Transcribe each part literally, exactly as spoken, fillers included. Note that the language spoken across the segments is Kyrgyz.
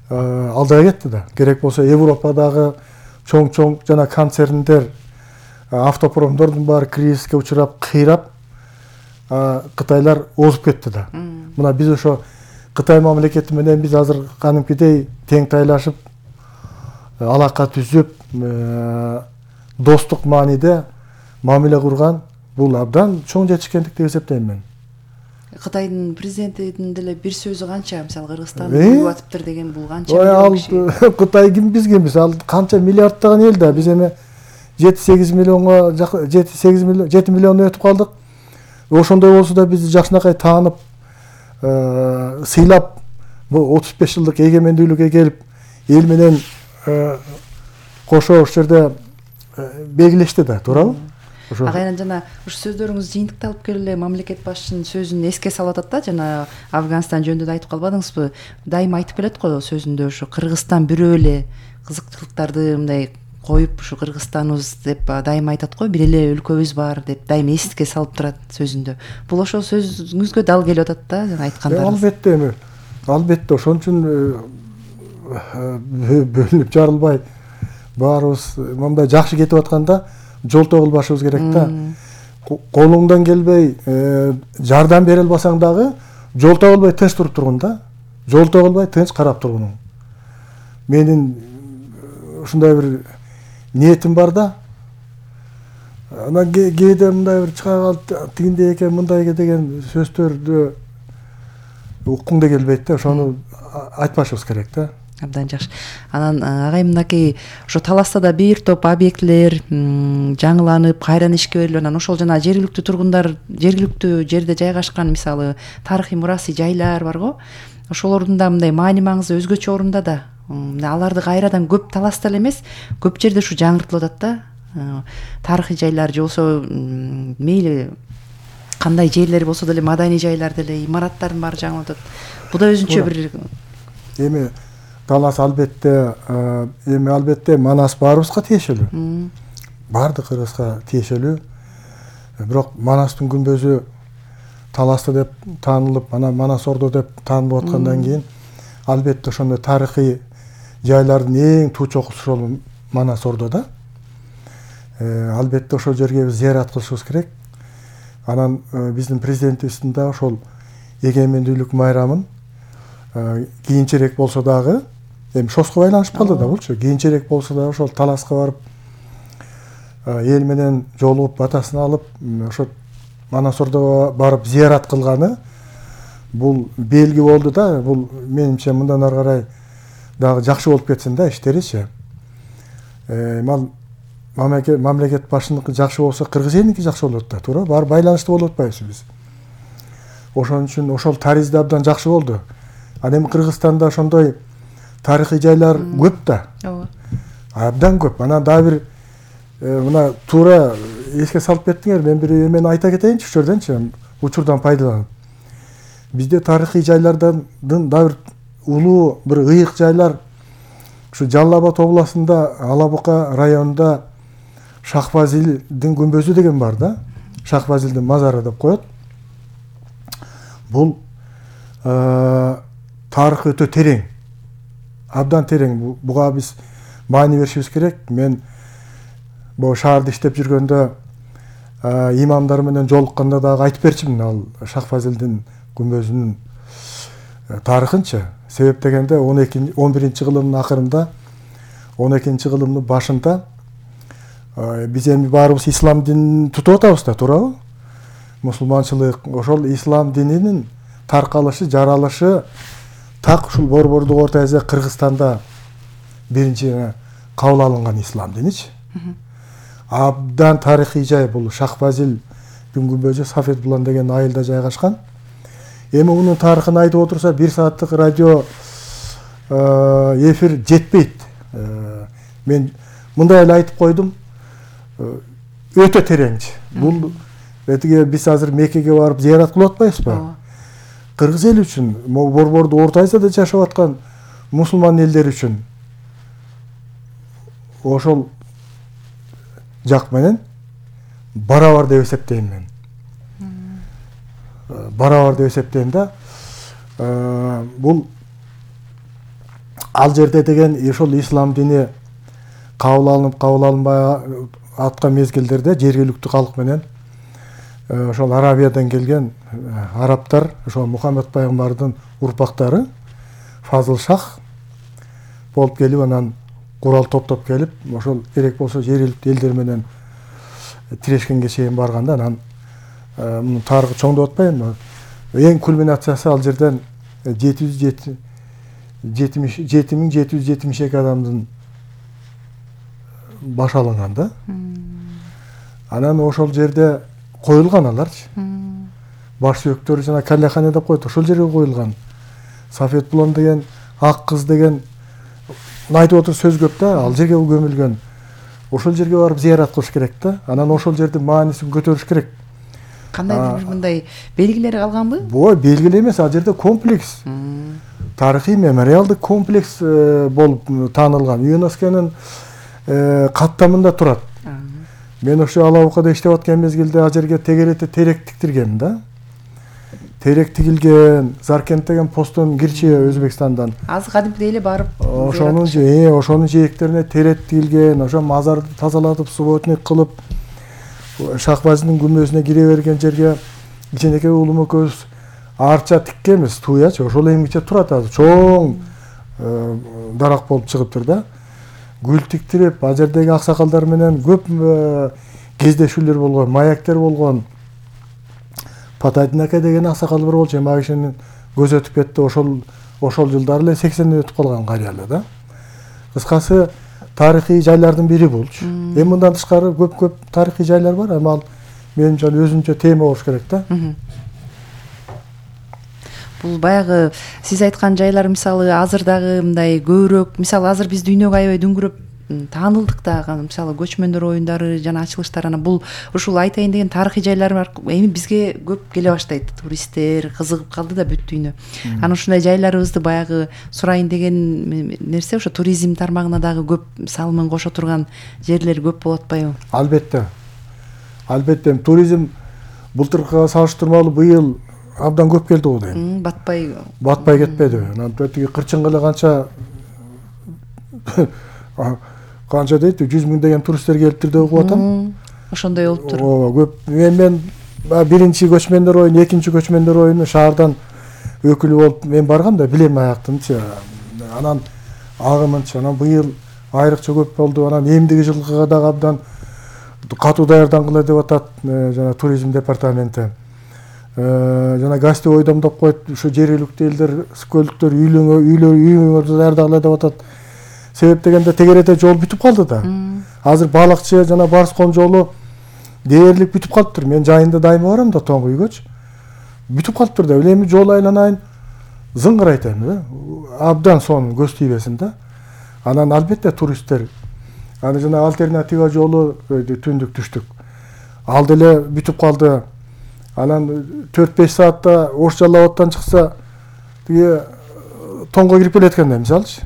алдай кетти да. Керек болсо Европадагы чоң-чоң жана концерндер, автопромдордун баары кризиске учурап, кыйрап, Кытайлар озуп кетти да. Мына биз ошо Кытай мамлекети менен биз азыр канымкидей тең тайлашып, алака түзүп, достук мааниде мамиле курган бул абдан чоң жетишкендик деп эсептейм мен. Кытайдын президентинин деле бир сөзү канча, мисалы Кыргызстан көрүп атыптыр деген бул канча? Ой, ал Кытай ким бизге эмес, ал канча миллиарддаган эл да. Биз эми жети-сегиз миллионго, жети-сегиз миллион, жети миллион өтүп калдык. Ошондой болсо да бизди жакшынакай таанып, сыйлап, бул отуз беш жылдык эгемендүүлүккө келип, эл менен кошо ошол жерде белгилешти да, туурабы? Агайынан жана ушу сөздөрүңүз жыйынтыкты алып келе эле мамлекет башчынын сөзүн эске салып атат да, жана Афганистан жөнүндө да айтып калбадыңызбы? Дайыма айтып келет го сөзүндө, ушу Кыргызстан бирөө эле кызыкчылыктарды мындай коюп, ушу Кыргызстаныбыз деп дайыма айтат го, бир эле өлкөбүз бар деп дайыма эске салып турат сөзүндө. Бул ошол сөзүңүзгө дал келип атат да, жана айткандарыңыз. Албетте эми, албетте ошон үчүн бөлүнүп жарылбай баарыбыз мындай жакшы кетип атканда жолтоо кылбашыбыз керек да. Колуңдан келбей жардам бере албасаң дагы жолтоо кылбай тынч туруп тургун да. Жолтоо кылбай тынч карап тургунуң. Менин ушундай бир ниетим бар да. Анан кээде мындай бир чыга калып тигиндей экен, мындай экен деген сөздөрдү уккуң да келбейт да. Ошону айтпашыбыз керек да. Абдан жакшы. Анан агай мынакей ошо таласта да бир топ объектилер жаңыланып, кайрадан ишке берилип, анан ошол жана жергиликтүү тургундар, жергиликтүү жерде жайгашкан мисалы тарыхый мурасый жайлар бар го. Ошолордун да мындай маани маңызы өзгөчө орунда да. Аларды кайрадан көп таласта эле эмес, көп жерде ушу жаңыртылып атат да. Тарыхый жайлар же болсо мейли кандай жерлер болсо деле, маданий жайлар деле, имараттардын баары жаңылып атат. Бул да өзүнчө бир эми талас албетте, эми албетте Манас баарыбызга тиешелүү. Баардык кыргызга тиешелүү. Бирок Манастын күмбөзү таласты деп таанылып, анан Манас Ордо деп таанылып аткандан кийин албетте ошондой тарыхый жайлардын эң туу чокусу ошол Манас Ордода. Албетте ошол жерге биз зыярат кылышыбыз керек. Анан биздин президентибиздин да ошол эгемендүүлүк майрамын кийинчерээк болсо дагы, эми шоско байланышып калды да булчу. Кийинчерээк болсо да ошол таласка барып, эл менен жолугуп, батасын алып, ошо Манас Ордого барып зыярат кылганы бул белги болду да. Бул менимче мындан ары карай дагы жакшы болуп кетсин да иштеричи. Мал мамлекет башчыныкы жакшы болсо, кыргыз элиники жакшы болот да, туура. Баары байланыштуу болуп атпайбызбы биз? Ошон үчүн ошол таризде абдан жакшы болду. Ал эми Кыргызстанда ошондой тарыхый жайлар көп да. Ооба. Абдан көп. Анан дагы бир мына туура эске салып кеттиңер. Мен бир эмени айта кетейинчи ушул жерденчи, учурдан пайдаланып. Бизде тарыхый жайлардан дагы бир улуу бир ыйык жайлар ушу Жалал Абад областында, Алабука районунда Шахфазилдин күмбөзү деген бар да. Шахфазилдин мазары деп коет. Бул тарыхы өтө терең. Абдан терең. Буга биз маани беришибиз керек. Мен бу шаарда иштеп жүргөндө имамдар менен жолукканда дагы айтып берчимин ал Шахфазилдин күмбөзүнүн тарыхынчы. Себеп дегенде он экинчи он биринчи кылымдын акырында, он экинчи кылымдын башында биз эми баарыбыз ислам динин тутуп атабыз да, туурабы? Мусулманчылык, ошол ислам дининин таркалышы, жаралышы так ушул Борбордук Орто Азия, Кыргызстанда биринчи кабыл алынган ислам диничи. Абдан тарыхый жай бул Шахфазил күмбөзү, Сафет Булан деген айылда жайгашкан. Эми мунун тарыхын айтып отурса бир сааттык радио эфир жетпейт. Мен мындай эле айтып койдум. Өтө тереңчи. Бул этиге биз азыр Меккеге барып зыярат кылып атпайбызбы? Кыргыз эл үчүн, Борбордук Орто Азияда жашап аткан мусулман элдер үчүн ошол жак менен барабар деп эсептейм мен. Барабар деп эсептейм да. Бул ал жерде деген ошол ислам дини кабыл алынып кабыл алынбай аткан мезгилдерде жергиликтүү калк менен ошол Арабиядан келген арабтар, ошол Мухаммед пайгамбардын урпактары Фазыл шах болуп келип, анан курал топтоп келип, ошол керек болсо жергиликтүү элдер менен тирешкенге чейин барганда, анан мунун тарыхы чоң деп атпайбы, эң кульминациясы ал жерден жети миң жети жүз жетимиш эки адамдын баш алынган да. Анан ошол жерде коюлган аларчы. Баш сүйөктөрү жана каллехане деп коет, ошол жерге коюлган. Сафет Булан деген, ак кыз деген айтып отур сөз көп да, ал жерге көмүлгөн. Ошол жерге барып зыярат кылыш керек да. Анан ошол жердин маанисин көтөрүш керек. Кандайдыр бир мындай белгилери калганбы? Бо, белгилер эмес, ал жерде комплекс. Тарыхый мемориалдык комплекс болуп таанылган. ЮНЕСКОнун каттамында турат. Мен ошо Алабукада иштеп аткан мезгилде ал жерге тегерете терек тиктиргем да. Терек тигилген, Заркент деген постон кирчи Өзбекстандан. Азыр кадимкидей эле барып, ошонун же, ошонун жээктерине терек тигилген, ошо мазарды тазалатып, субботник кылып, Шахбазидин күмбөзүнө кире берген жерге кичинекей уулум экөөбүз арча тиккенбиз, туячы, ошол эмгиче турат азыр. Чоң дарак болуп чыгыптыр да. Гүл тиктирип, ал жердеги аксакалдар менен көп кездешүүлөр болгон, маяктер болгон. Патайдын ака деген аксакал бар болчу, эми ал кишинин көзү өтүп кетти, ошол ошол жылдары эле сексенден өтүп калган карыялы да. Кыскасы тарыхый жайлардын бири болчу. Эми мындан тышкары көп-көп тарыхый жайлар бар, эми ал менимче өзүнчө тема болуш керек да. Бул баягы сиз айткан жайлар мисалы азыр дагы мындай көбүрөөк, мисалы азыр биз дүйнөгө аябай дүңгүрөп таанылдык дагы, мисалы көчмөндөр оюндары жана ачылыштар, анан бул ушул айтайын деген тарыхый жайлар эми бизге көп келе баштайт. Туристтер кызыгып калды да бүт дүйнө. Анан ушундай жайларыбызды баягы сурайын деген нерсе, ошо туризм тармагына дагы көп салымын кошо турган жерлер көп болуп атпайбы? Албетте. Албетте, туризм былтыркыга салыштырмалуу быйыл абдан көп келди го дейм. Батпай батпай кетпеди. Анан тиги кырчынга эле канча канча дейт, жүз миң деген туристтер келиптир деп угуп атам. Ошондой болуптур. Ооба, көп. Мен биринчи көчмөндөр оюну, экинчи көчмөндөр оюну шаардан өкүлү болуп мен баргам да, билем аяктынчы. Анан агымынчы, анан быйыл айрыкча көп болду. Анан эмдиги жылкыга дагы абдан катуу даярдангыла деп атат жана туризм департаменти. Жана гостевой дом деп коет, ушу жергиликтүү элдер, көлүктөр үйлөнгө, үйлөр, үйлөрдү даярдагыла деп атат. Себеп дегенде тегерете жол бүтүп калды да. Азыр балыкчы жана Барскон жолу дээрлик бүтүп калыптыр. Мен жайында дайыма барам да тоңго үйгөчү. Бүтүп калыптыр да. Эми жол айланайын зыңгырайт эми да. Абдан сонун көз тийбесин да. Анан албетте туристтер, аны жана альтернатива жолу түндүк түштүк. Ал деле бүтүп калды. Анан төрт беш саатта Ош Жалал-абадтан чыкса, тиги тоңго кирип келеткенде мисалчы.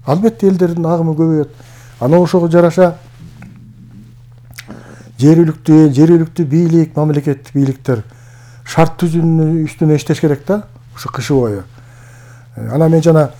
Албетте элдердин агымы көбөйөт. Анан ошого жараша жергиликтүү, жергиликтүү бийлик, мамлекеттик бийликтер шарт түзүүнүн үстүнө иштеш керек да, ушу кышы бою. Анан мен жана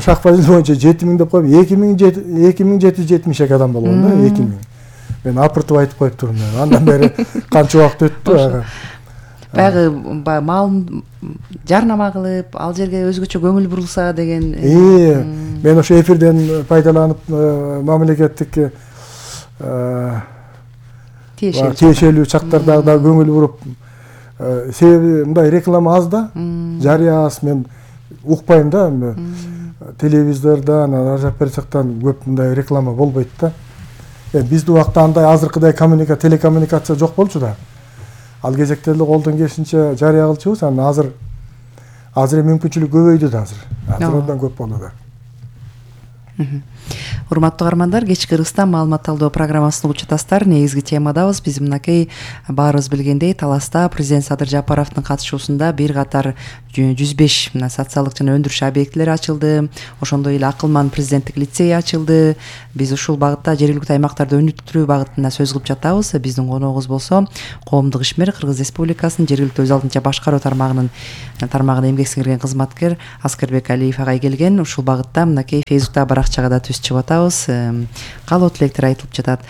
Шахбазид боюнча жети миң деп коюп, эки миң жети жүз жетимиш эки адам болгон да, эки миң. Мен апыртып айтып коюп турмун. Андан бери канча убакыт өттү. Баягы маалын жарнама кылып, ал жерге өзгөчө көңүл бурулса деген. Э, мен ошо эфирден пайдаланып мамлекеттик тиешелүү чактарда да көңүл буруп, себеби мындай реклама аз да, жарыя аз, мен укпайм да, телевизордон, ар жак бер жактан көп мындай реклама болбойт да. Биздин убакта андай азыркыдай коммуника, телекоммуникация жок болчу да. Ал кезекте эле колдон келишинче жарыя кылчубуз, анан азыр азыр мүмкүнчүлүк көбөйдү да азыр. Азыр абдан көп болду да. Урматтуу каармандар, кечки Кыргызстан маалымат талдоо программасын угуп жатасыздар. Негизги темадабыз. Биз мынакей баарыбыз билгендей Таласта президент Садыр Жапаровдун катышуусунда бир катар жүз беш мына социалдык жана өндүрүш объектилери ачылды. Ошондой эле Акылман президенттик лицей ачылды. Биз ушул багытта жергиликтүү аймактарды өнүктүрүү багытында сөз кылып жатабыз. Биздин коногубуз болсо коомдук ишмер, Кыргыз Республикасынын жергиликтүү өз алдынча башкаруу тармагынын тармагына эмгек сиңирген кызматкер Аскербек Алиев агай келген. Ушул багытта мынакей Фейсбуктагы баракчага да түз чыгып атабыз. Каалоо тилектер айтылып жатат.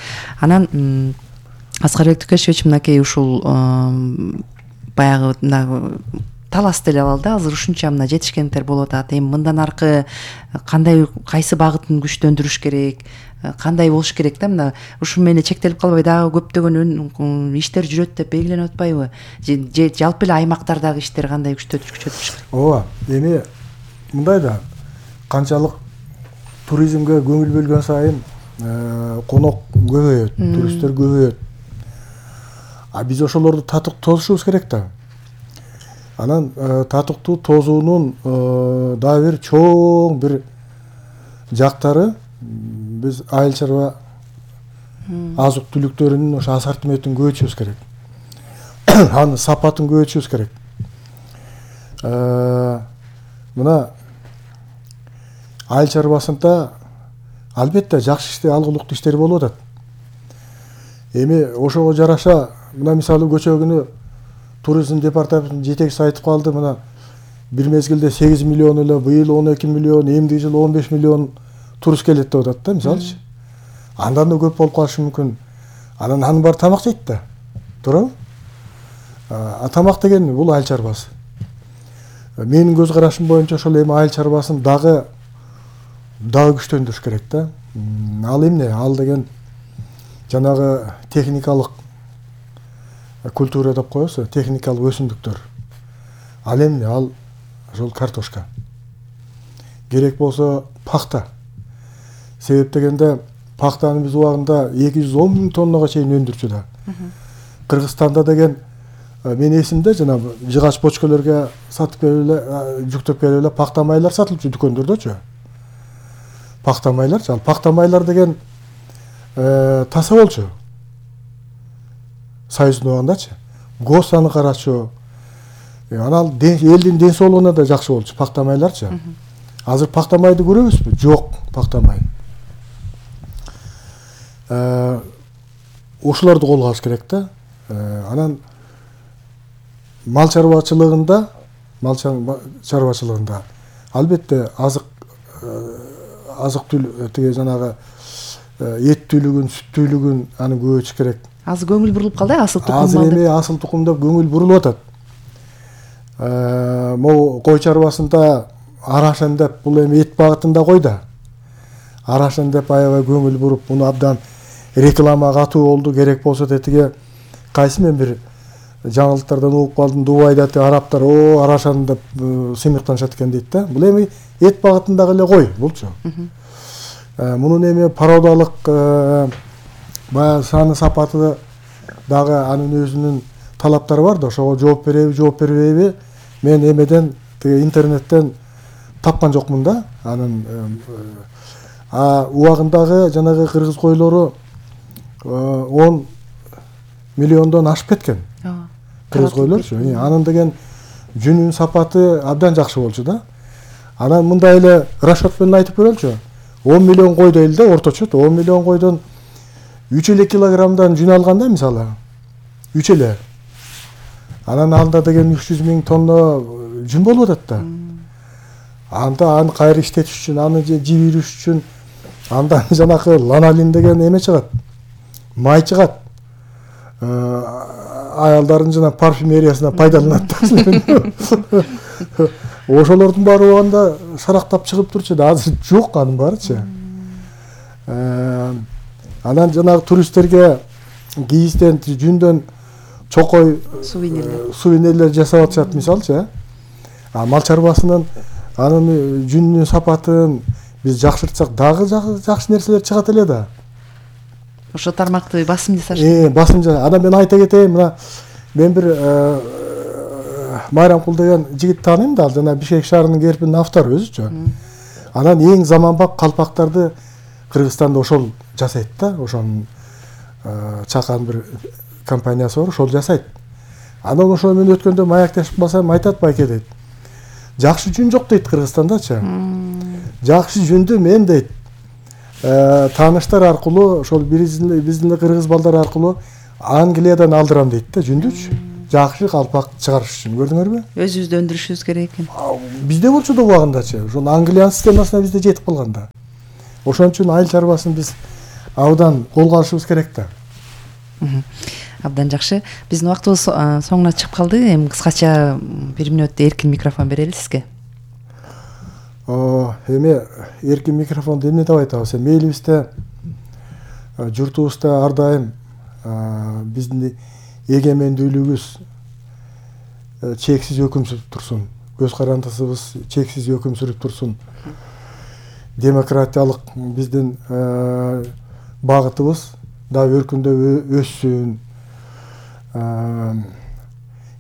Анан Аскарбек Тукешевич мынакей ушул баягы Таласты эле алалы да, азыр ушунча мына жетишкендиктер болуп атат. Эми мындан аркы кандай, кайсы багытын күчтөндүрүш керек, кандай болуш керек да, мына ушу менен чектелип калбай дагы көптөгөн иштер жүрөт деп белгиленип атпайбы? Же жалпы эле аймактардагы иштер кандай күчтөтүш күчөтүлүш керек? Ооба, эми мындай да, канчалык туризмге көңүл бөлгөн сайын конок көбөйөт, туристтер көбөйөт. А биз ошолорду татык тосушубуз керек да. Анан татыктуу тосуунун дагы бир чоң бир жактары биз айыл чарба азык түлүктөрүнүн ошо ассортиментин көбөйтүшүбүз керек. Анын сапатын көбөйтүшүбүз керек. Мына айыл чарбасында албетте жакшы иштер, алгылыктуу иштер болуп атат. Эми ошого жараша мына мисалы көчө күнү туризм департаментинин жетекчиси айтып калды, мына бир мезгилде сегиз миллион эле, быйыл он эки миллион, эмдиги жылы он беш миллион турист келет деп атат да, мисалычы. Андан да көп болуп калышы мүмкүн. Анан анын баары тамак жейт да. Туурабы? А тамак деген бул айыл чарбасы. Менин көз карашым боюнча ошол эми айыл чарбасын дагы дагы күчтөндүрүш керек да. Ал эмне? Ал деген жанагы техникалык культура деп коебуз, техникалык өсүмдүктөр. Ал эмне? Ал ошол картошка. Керек болсо пахта. Себеп дегенде пахтаны биз убагында эки жүз он миң тоннага чейин өндүрчү да. Кыргызстанда деген мен эсимде жана жыгач бочкаларга сатып келип эле, жүктөп келип эле пахта майлар сатылчу дүкөндөрдөчү. Пахта майлар, ал пахта майлар деген таса болчу. Союздун убагындачы. ГОС аны карачу. Анан элдин ден соолугуна да жакшы болчу пахта майларчы. Азыр пахта майды көрөбүзбү? Жок, пахта май. Ошолорду колго алыш керек да. Анан мал чарбачылыгында, мал чарбачылыгында албетте азык азык түлүк тиги жанагы эт түлүгүн, сүт түлүгүн аны көбөйтүш керек. Азыр көңүл бурулуп калды, асыл тукум Азыр эми асыл тукум деп көңүл бурулуп атат. Могу кой чарбасында арашын деп бул эми эт багытында кой да. Арашын деп аябай көңүл буруп, муну абдан реклама катуу болду, керек болсо тетиге кайсы мен бир жаңылыктардан угуп калдым, Дубайда араптар о арашан деп сыймыктанышат экен дейт да. Бул эми эт багытындагы эле кой булчу. Мунун эми породалык баягы саны сапаты дагы анын өзүнүн талаптары бар да, ошого жооп береби, жооп бербейби? Мен эмеден тиги интернеттен тапкан жокмун да. Анын а убагындагы жанагы кыргыз койлору он миллиондон ашып кеткен. Кыргыз койлорчу. Анын деген жүнүн сапаты абдан жакшы болчу да. Анан мындай эле расчет менен айтып көрөлчү. он миллион кой дейли да, орточо он миллион койдон үч эле килограммдан жүн алганда мисалы үч эле. Анан анда деген үч жүз миң тонна жүн болуп атат да. Анда аны кайра иштетиш үчүн, аны жибириш үчүн андан жанакы ланолин деген эме чыгат. Май чыгат. Аялдардын жана парфюмериясына пайдаланат. Ошолордун баары убагында шарактап чыгып турчу да, азыр жок анын баарычы. Анан жанагы туристтерге кийизден, жүндөн чокой сувенирлер жасап атышат мисалчы. А мал чарбасынын анын жүнүнүн сапатын биз жакшыртсак дагы жакшы нерселер чыгат эле да. Ошо тармакты басым жасаш. Э, басым жаса. Анан мен айта кетейин, мына мен бир Майрамкул деген жигит тааныйм да, жана Бишкек шаарынын керпинин автору өзүчү. Анан эң заманбап калпактарды Кыргызстанда ошол жасайт да, ошонун чакан бир компаниясы бар, ошол жасайт. Анан ошол менен өткөндө маектешип калсам айтат байке дейт. Жакшы жүн жок дейт Кыргызстандачы. Жакшы жүндү мен дейт тааныштар аркылуу ошол биздин кыргыз балдар аркылуу Англиядан алдырам дейт да жүндүчү. Жакшы калпак чыгарыш үчүн, көрдүңөрбү? Өзүбүздө өндүрүшүбүз керек экен. Бизде болчу да убагындачы, ошол Англиянын системасына бизде жетип калган да. Ошон үчүн айыл чарбасын биз абдан колго алышыбыз керек да. Абдан жакшы. Биздин убактыбыз соңуна чыгып калды. Эми кыскача бир мүнөт эркин микрофон берели сизге. Эми эркин микрофонду эмне деп айтабыз? Эми элибизде, журтубузда ар дайым биздин эгемендүүлүгүбүз чексиз өкүм сүрүп турсун. Көз карандысыбыз чексиз өкүм сүрүп турсун. Демократиялык биздин багытыбыз дагы өркүндө өссүн.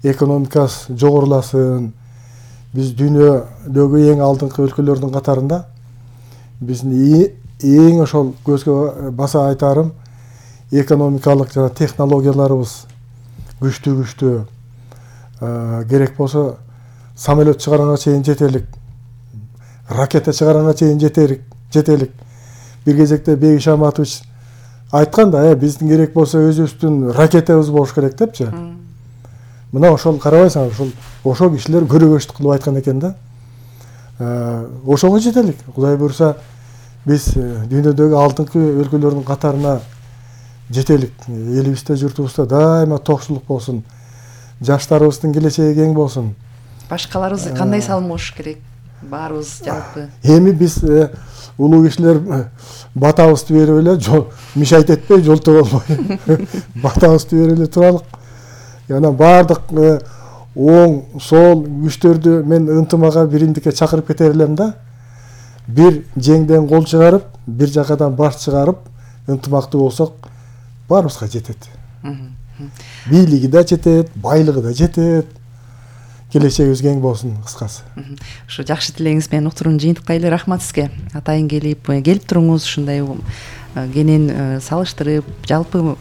Экономикасы жогоруласын. Биз дүйнөдөгү эң алдыңкы өлкөлөрдүн катарында биздин эң ошол көзгө баса айтарым экономикалык жана технологияларыбыз күчтүү-күчтүү. Керек болсо самолет чыгаранга чейин жетелик, ракета чыгаранга чейин жетелик, жетелик. Бир кезекте Бейиш Аматович айткан да, биздин керек болсо өзүбүздүн ракетабыз болуш керек депчи. Мына ошол карабайсыңар, ошол ошол кишилер көрөгөчтүк кылып айткан экен да. Ошого жетелик. Кудай буйруса биз дүйнөдөгү алдыңкы өлкөлөрдүн катарына жетелик. Элибизде, журтубузда дайыма токчулук болсун. Жаштарыбыздын келечеги кең болсун. Башкаларыбыз кандай салым кошуш керек? Баарыбыз жалпы. Эми биз улуу кишилер батабызды берип эле, мишайт этпей, жолто болбой. Батабызды берип эле туралык. Яна бардык оң, сол күчтөрдү мен ынтымага, биримдикке чакырып кетер элем да. Бир жеңден кол чыгарып, бир жакадан баш чыгарып, ынтымактуу болсок, баарыбызга жетет. Бийлиги да жетет, байлыгы да жетет. Келечегибиз кең болсун, кыскасы. Ушу жакшы тилегиңиз менен уктуруну жыйынтыктайлы. Рахмат сизге. Атайын келип, келип туруңуз, ушундай кенен салыштырып, жалпы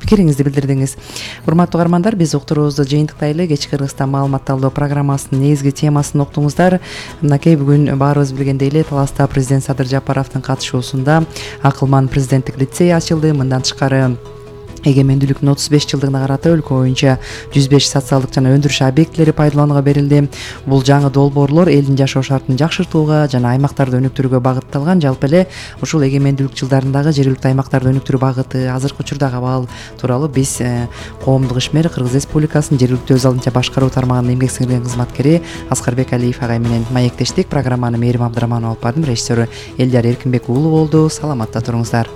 пикириңизди билдирдиңиз. Урматтуу угармандар, биз уктуруубузду жыйынтыктайлы. Кечки Кыргызстан маалымат талдоо программасынын негизги темасын уктуңуздар. Мынакей бүгүн баарыбыз билгендей эле Таласта президент Садыр Жапаровдун катышуусунда Акылман президенттик лицей ачылды. Мындан тышкары эгемендүүлүктүн отуз беш жылдыгына карата өлкө боюнча жүз беш социалдык жана өндүрүш объектилери пайдаланууга берилди. Бул жаңы долбоорлор элдин жашоо шартын жакшыртууга жана аймактарды өнүктүрүүгө багытталган. Жалпы эле ушул эгемендүүлүк жылдарындагы жергиликтүү аймактарды өнүктүрүү багыты, азыркы учурдагы абал тууралуу биз коомдук ишмер Кыргыз Республикасынын жергиликтүү өз алдынча башкаруу тармагынын эмгек сиңирген кызматкери Аскарбек Алиев агай менен маектештик. Программаны Мээрим Абдыраманова алып бардым. Режиссеру Элдияр Эркинбек уулу болду. Саламатта туруңуздар.